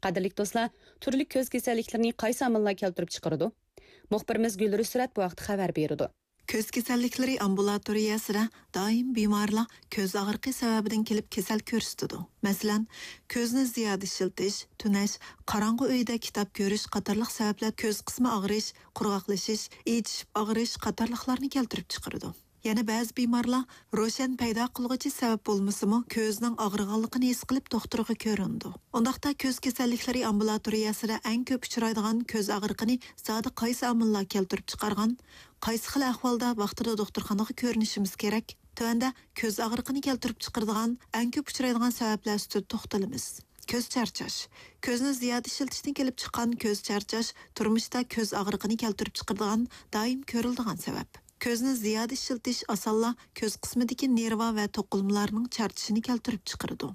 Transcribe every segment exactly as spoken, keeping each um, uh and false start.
قەدىرلىك دوستلار، تۈرلۈك كۆز كېسەللىكلىرىنى قايسى ئامىللار كەلتۈرۈپ چىقىرىدۇ؟ مۇخبىرىمىز گۈلرۈسرەت بۇ ھەقتە خەۋەر بېرىدۇ. كۆز كېسەللىكلىرى ئامبۇلاتورىيەسىدە دائىم بىمارلار كۆز ئاغرىقى سەۋەبىدىن كېلىپ كېسەل كۆرسىتىدۇ. مەسىلەن، كۆزنى زىيادە ئىشلىتىش، تۈنەش، قاراڭغۇ ئۆيدە كىتاب كۆرۈش قاتارلىق سەۋەبلەر كۆز قىسمى ئاغرىش، قۇرغاقلىشىش، ئېچىشىپ ئاغرىش قاتارلىقلارنى كەلتۈرۈپ چىقىرىدۇ. يەنە بەزى بىمارلار روشەن پەيدا قىلغۇچى سەۋەب بولمىسىمۇ، كۆزىنىڭ ئاغرىغانلىقىنى ھېس قىلىپ دوختۇرغا كۆرۈنىدۇ. ئۇنداقتا كۆز كېسەللىكلىرى ئامبۇلاتورىيەسىدە ئەڭ كۆپ ئۇچرايدىغان كۆز ئاغرىقىنى زادى قايسى ئامىللار كەلتۈرۈپ چىقارغان؟ قايسى خىل ئەھۋالدا ۋاقتىدا دوختۇرخانىغا كۆرۈنۈشىمىز كېرەك؟ تۆۋەندە كۆز ئاغرىقىنى كەلتۈرۈپ چىقىرىدىغان ئەڭ كۆپ ئۇچرايدىغان سەۋەبلەر ئۈستىدە توختىلىمىز. كۆز چارچاش. كۆزنى زىيادە ئىشلىتىشتىن كېلىپ چىققان كۆز چارچاش تۇرمۇشتا كۆز ئاغرىقىنى كەلتۈرۈپ چىقىرىدىغان دائىم كۆرۈلىدىغان سەۋەب. كۆزنى زىيادە ئىشلىتىش ئاسانلا كۆز قىسمىدىكى نېرۋا ۋە توقۇلمىلارنىڭ چارچىشىنى كەلتۈرۈپ چىقىرىدۇ.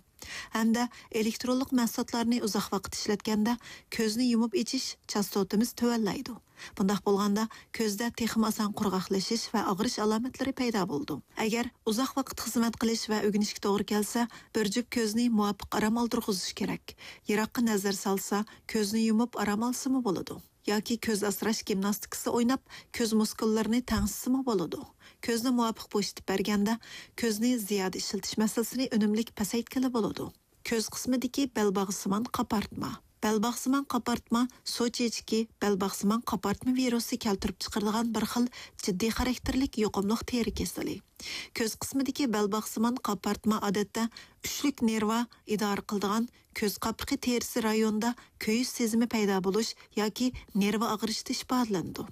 ھەمدە ئېلېكترونلۇق مەھسۇلاتلارنى ئۇزاق ۋاقىت ئىشلەتكەندە كۆزنى يۇمۇپ ئېچىش چاستوتىمىز تۆۋەنلەيدۇ. بۇنداق بولغاندا كۆزدە تېخىمۇ ئاسان قۇرغاقلىشىش ۋە ئاغرىش ئالامەتلىرى پەيدا بولىدۇ. ئەگەر ئۇزاق ۋاقىت خىزمەت قىلىش ۋە ئۆگىنىشكە توغرا كەلسە، بىر جۈپ كۆزنى مۇۋاپىق ئارام ئالدۇرغۇزۇش كېرەك. يىراققا نەزەر سالسا، كۆزنى يۇمۇپ ئارام ئالسىمۇ بولىدۇ. ياكى كۆز ئاسراش گىمناستىكىسى ئويناپ، كۆز مۇسكۇللىرىنى تەڭشىسىمۇ بولىدۇ. كۆزنى مۇۋاپىق بوشىتىپ بەرگەندە، كۆزنى زىيادە ئىشلىتىش مەسىلىسىنى ئۈنۈملۈك پەسەيتكىلى بولىدۇ. كۆز قىسمىدىكى بەلباغسىمان قاپارتما. بەلباغسىمان قاپارتما سۇ چېچىكى، بەلباغسىمان قاپارتما ۋىرۇسى كەلتۈرۈپ چىقىرىدىغان بىر خىل جىددىي خاراكتېرلىك يۇقۇملۇق تېرە كېسىلى. كۆز قىسمىدىكى بەلباغسىمان قاپارتما ئادەتتە ئۈچلۈك نېرۋا ئىدارە قىلىدىغان كۆز قاپىقى تېرىسى رايونىدا كۆيۈش سېزىمى پەيدا بولۇش ياكى نېرۋا ئاغرىشتا ئىپادىلىنىدۇ.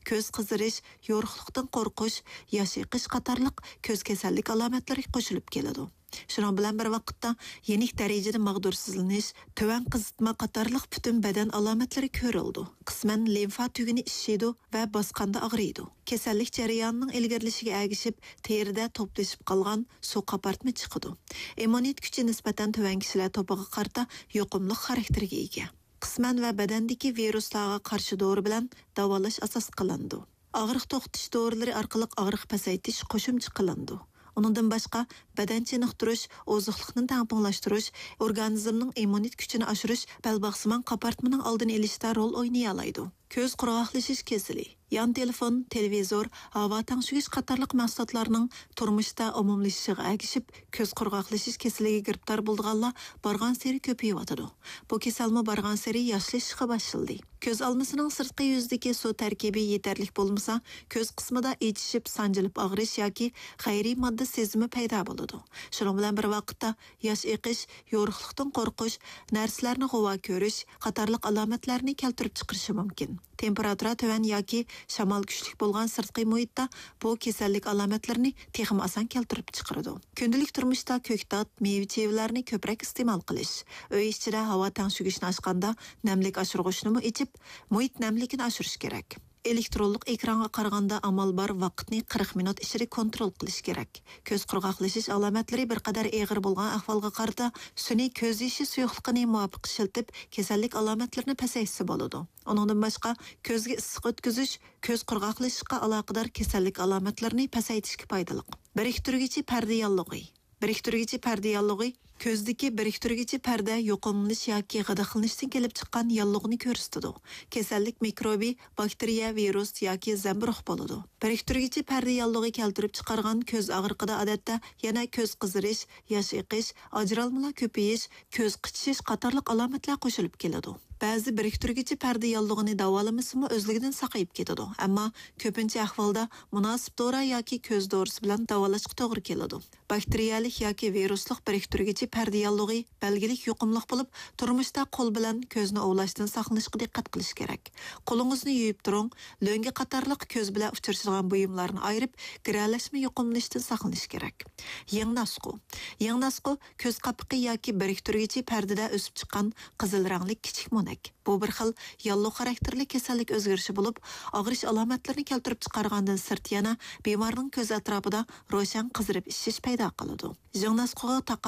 كۆز قىزىرىش، يورۇقلۇقتىن قورقۇش، ياش ئېقىش قاتارلىق كۆز كېسەللىك ئالامەتلىرى قوشۇلۇپ كېلىدۇ. شۇنىڭ بىلەن بىر ۋاقىتتا، يېنىك دەرىجىدە ماغدۇرسىزلىنىش، تۆۋەن قىزىتما قاتارلىق پۈتۈن بەدەن ئالامەتلىرى كۆرۈلىدۇ. قىسمەن لىمفا تۈگۈنى ئىششىيدۇ ۋە باسقاندا ئاغرىيدۇ. كېسەللىك جەريانىنىڭ ئىلگىرىلىشىگە ئەگىشىپ، تېرىدە توپلىشىپ قالغان سۇ قاپارتما چىقىدۇ. ئىممۇنىتېت كۈچى نىسبەتەن تۆۋەن كىشىلەر توپىغا قارىتا يۇقۇملۇق خاراكتېرگە ئىگە. قىسمەن ۋە بەدەندىكى ۋىرۇسلارغا قارشى دورا بىلەن داۋالاش ئاساس قىلىنىدۇ. ئاغرىق توختىتىش دورىلىرى ئارقىلىق ئاغرىق پەسەيتىش قوشۇمچە قىلىنىدۇ. ئۇنىڭدىن باشقا، بەدەن چېنىقتۇرۇش، ئوزۇقلۇقنى تەڭپۇڭلاشتۇرۇش، ئورگانىزمنىڭ ئىممۇنىتېت كۈچىنى ئاشۇرۇش بەلباغسىمان قاپارتمىنىڭ ئالدىنى ئېلىشتا رول ئوينىيالايدۇ. كۆز قۇرغاقلىشىش كېسىلى. يان تېلېفون، تېلېۋىزور، ھاۋا تەڭشىگۈچ قاتارلىق مەھسۇلاتلارنىڭ تۇرمۇشتا ئومۇملىشىشىغا ئەگىشىپ، كۆز قۇرغاقلىشىش كېسىلىگە گىرىپتار بولىدىغانلار بارغانسېرى كۆپىيىۋاتىدۇ. بۇ كېسەلمۇ بارغانسېرى ياشلىشىشقا باشلىدى. كۆز ئالمىسىنىڭ سىرتقى يۈزىدىكى سۇ تەركىبى يېتەرلىك بولمىسا، كۆز قىسمىدا ئېچىشىپ، سانجىلىپ ئاغرىش ياكى غەيرىي ماددا سېزىمى پەيدا بولىدۇ. شۇنىڭ بىلەن بىر ۋاقىتتا، ياش ئېقىش، يورۇقلۇقتىن قورقۇش، نەرسىلەرنى غۇۋا كۆرۈش قاتارلىق ئالامەتلەرنى كەلتۈرۈپ چىقىرىشى مۇمكىن. تېمپېراتۇرا تۆۋەن ياكى شامال كۈچلۈك بولغان سىرتقى مۇھىتتا بۇ كېسەللىك ئالامەتلىرىنى تېخىمۇ ئاسان كەلتۈرۈپ چىقىرىدۇ. كۈندىلىك تۇرمۇشتا كۆكتات، مېۋە-چېۋىلەرنى كۆپرەك ئىستېمال قىلىش، ئۆي ئىچىدە ھاۋا تەڭشىگۈچنى ئاچقاندا نەملىك ئاشۇرغۇچنىمۇ ئېچىپ، مۇھىت نەملىكىنى ئاشۇرۇش كېرەك. ئېلېكترونلۇق ئېكرانغا قارىغاندا ئامال بار ۋاقىتنى قىرىق مىنۇت ئىچىدە كونترول قىلىش كېرەك. كۆز قۇرغاقلىشىش ئالامەتلىرى بىر قەدەر ئېغىر بولغان ئەھۋالغا قارىتا سۈنئىي كۆز يېشى سۇيۇقلۇقىنى مۇۋاپىق ئىشلىتىپ، كېسەللىك ئالامەتلىرىنى پەسەيتسە بولىدۇ. ئۇنىڭدىن باشقا، كۆزگە ئىسسىق ئۆتكۈزۈش كۆز قۇرغاقلىشىشقا ئالاقىدار كېسەللىك ئالامەتلىرىنى پەسەيتىشكە پايدىلىق. بىرىكتۈرگۈچى پەردە ياللۇغى. بىرىكتۈرگۈچى پەردە ياللۇغى كۆزدىكى بىرىكتۈرگۈچى پەردە يۇقۇملىنىش ياكى غىدىقلىنىشتىن كېلىپ چىققان ياللۇغنى كۆرسىتىدۇ. كېسەللىك مىكروبى، باكتېرىيە، ۋىرۇس ياكى زەمبۇرۇغ بولىدۇ. بىرىكتۈرگۈچى پەردە ياللۇغى كەلتۈرۈپ چىقارغان كۆز ئاغرىقىدا ئادەتتە يەنە كۆز قىزىرىش، ياش ئېقىش، ئاجرالمىلار كۆپىيىش، كۆز قىچىشىش قاتارلىق ئالامەتلەر قوشۇلۇپ كېلىدۇ. بەزى بىرىكتۈرگۈچى پەردە ياللۇغىنى داۋالىمىسىمۇ ئۆزلۈكىدىن ساقىيىپ كېتىدۇ، ئەمما كۆپىنچە ئەھۋالدا مۇناسىپ دورا ياكى كۆز دورىسى بىلەن داۋالاشقا توغرا كېلىدۇ. باكتېرىيەلىك ياكى ۋىرۇسلۇق بىرىكتۈرگۈچى پەردە ياللۇغى بەلگىلىك يۇقۇملۇق بولۇپ، تۇرمۇشتا قول بىلەن كۆزنى ئۇۋۇلاشتىن ساقلىنىشقا دىققەت قىلىش كېرەك. قولىڭىزنى يۇيۇپ تۇرۇڭ، لۆڭگە قاتارلىق كۆز بىلەن ئۇچرىشىدىغان بۇيۇملارنى ئايرىپ، گىرەلەشمە يۇقۇملىنىشتىن ساقلىنىش كېرەك. يىڭناسقۇ. يىڭناسقۇ كۆز قاپىقى ياكى بىرىكتۈرگۈچى پەردىدە ئۆسۈپ چىققان قىزىل رەڭلىك كىچىك مونەك. بۇ بىر خىل ياللۇغ خاراكتېرلىك كېسەللىك ئۆزگىرىشى بولۇپ، ئاغرىش ئالامەتلىرىنى كەلتۈرۈپ چىقارغاندىن سىرت يەنە بىمارنىڭ كۆز ئەتراپىدا روشەن قىزىرىپ ئىششىش پەيدا قىلىدۇ. يىڭناسقۇغا تاقابىل